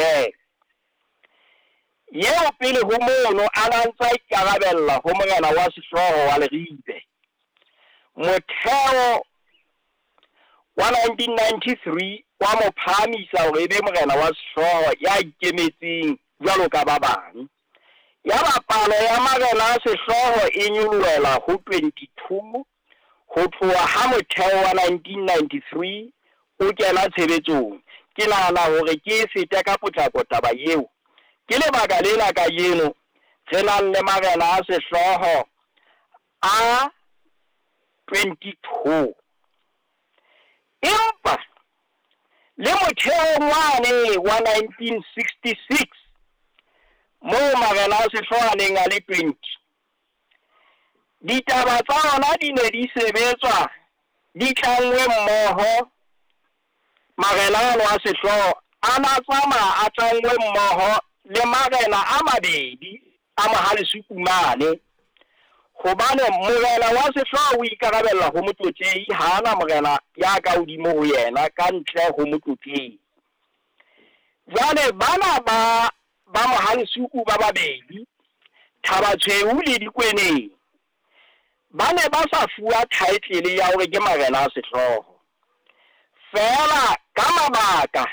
Kolobere, eo pele ho mono a na ntsa ikarabella ho morena wa sehlooho wa Leribe. Motheo wa 1993 wa mo phahamisa hore e be morena wa sehlooho ya ikemetseng jwalo ka ba bang. Yaba palo ya marena a sehlooho e nyolohela ho 22 ho tloha ha motheo wa 1993 o kena tshebetsong. Ke nahana hore ke e fete ka potlako taba eo. Ke lebaka lena kajeno re nang le marena a sehlooho a 22. Empa le motheong wane wa 1966 moo marena a sehlooho a neng a le 20, ditaba tsa ona di ne di sebetswa di tlangwe mmoho. Marena ano a sehlooho a na tsamaya a tlangwe mmoho le marena a mabedi a Mohalesuku mane, hobane morena wa sehlooho o ikarabella ho motlotlehi, ha ana morena ya ka hodimo ho yena ka ntle ho motlotlehi. Jwale bana ba Mohalesuku ba babedi, Thabatshweu le Dikweneng, ba ne ba sa fuwa title ya hore ke marena a sehlooho. Feela ka mabaka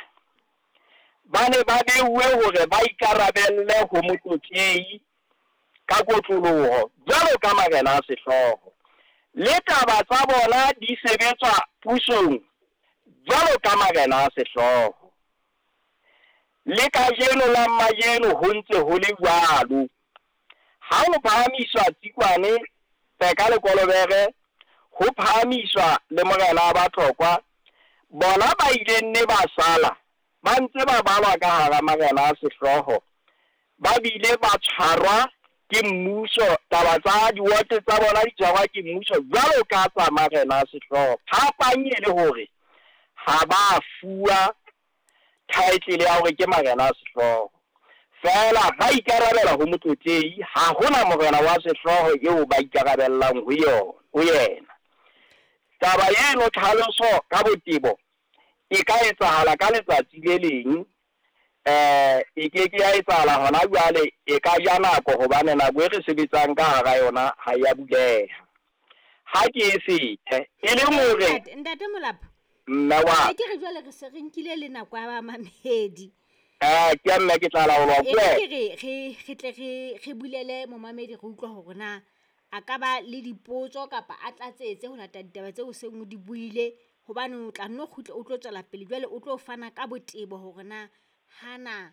ba ne ba beuwe hore ba ikarabelle ho motlotlehi ka kotloloho jwalo ka marena a sehlooho. Le taba tsa bona di sebetswa pusong jwalo ka marena a sehlooho. Le kajeno la majeno ho ntse ho le jwalo. Ha ho phahamiswa Tsikwane, Peka le Kolobere, ho phahamiswa le morena wa Batlokwa, bona ba ileng ne ba sala ba ntse ba balwa ka hara marena a sehlooho, ba bile ba tshwarwa ke mmuso, taba tsa diwote tsa bona di tshwarwa ke mmuso jwalo ka tsa marena a sehlooho. Phapang e le hore ha ba fuwa title ya hore ke marena a sehlooho, feela ba ikarabela ho motlotlehi, ha hona morena wa sehlooho eo ba ikarabellang ho yona, ho yena. Taba eno tlhaloso ka botebo e ka etsahala ka letsatsi le leng, e ke ke ya etsahala hona jwale, e ka ja nako hobane nako e re sebetsang ka hara yona ha ya buleha. Ha ke e fete e le hore Ntate Molapo, mme wa ke re jwale re se re nkile le nako ya bamamedi. Ke mme ke tla laolwa ke re re tle re bulele momamedi, re utlwa hore na a ka ba le dipotso kapa a tlatsetse ho lata ditaba tseo seng o di buile, hobane o tla nno kgutla o tlo tswela pele jwale o tlo fana ka botebo hore na hana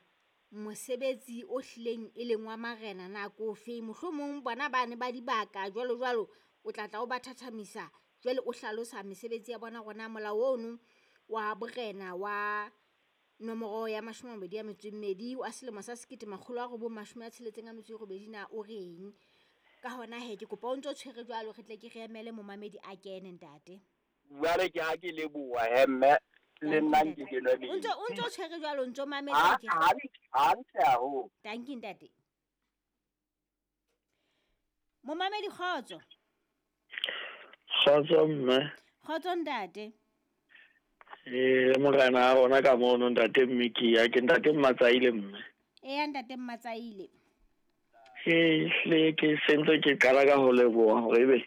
mosebetsi o hlileng e leng wa marena na ke ofe, mohlomong bona bane ba dibaka jwalo jwalo, o tla tla o ba thathamisa jwale o hlalosa mesebetsi ya bona hore na molao ono wa borena wa nomoro ya 22 wa selemo sa 1968 na o reng. Ka hona he ke kopa o ntso tshwere jwalo, re tle ke re emele momamedi a kene ntate. Jwale ke ha ke leboha he mme, le nna nke ke nwe metsi. O ntso tshwere jwalo, o ntso mametse ke. Hantle haholo. Dankie ntate. Momamedi kgotso. Kgotso mme. Kgotso ntate. Morena a rona ka mono ntate Mmikia, ke ntate Mmatsaile mme. Eya ntate Mmatsaile. Ke ke sentse ke qala ka ho leboha hore ebe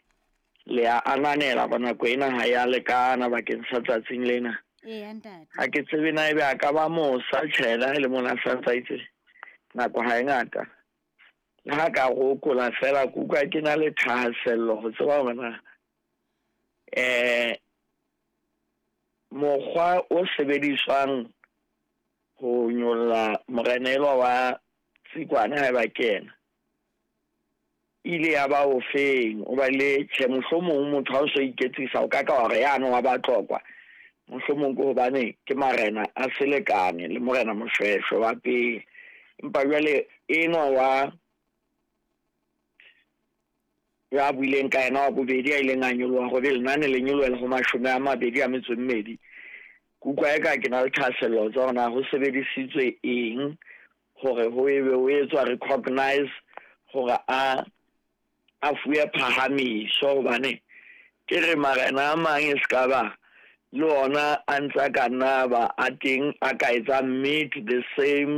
le a ananela ba nako ena ha ya lekana bakeng sa tsatsing lena. Eya ntate. Ha ke tsebe na ebe a ka ba mosa tjhela le mona sa ntse nako ha e ngata. Le ha ka rokola fela ke utlwa ke na le thahasello ho tseba hore na mokgwa o sebediswang ho nyolla morena elwa wa Tsikwane ha ba kena ile ya ba ofeng, o ba le tjhe mohlomong motho ha o so iketsisa o ka ka hore yano wa Batlokwa, mohlomong ke hobane ke marena a selekane le morena Moshweshwe wa pele, empa jwale enwa wa ya buileng ka yena wa bobedi a ileng a nyoloha hore lenane le nyolohela ho 22, ke utlwa eka ke na le thahasello tsa hore na ho sebedisitswe eng hore ho ebe ho etswa recognize hore a fuwe phahamiso, hobane ke re marena a mang e ska ba le ona a ntsa ka nna ba a teng a ka etsa meet the same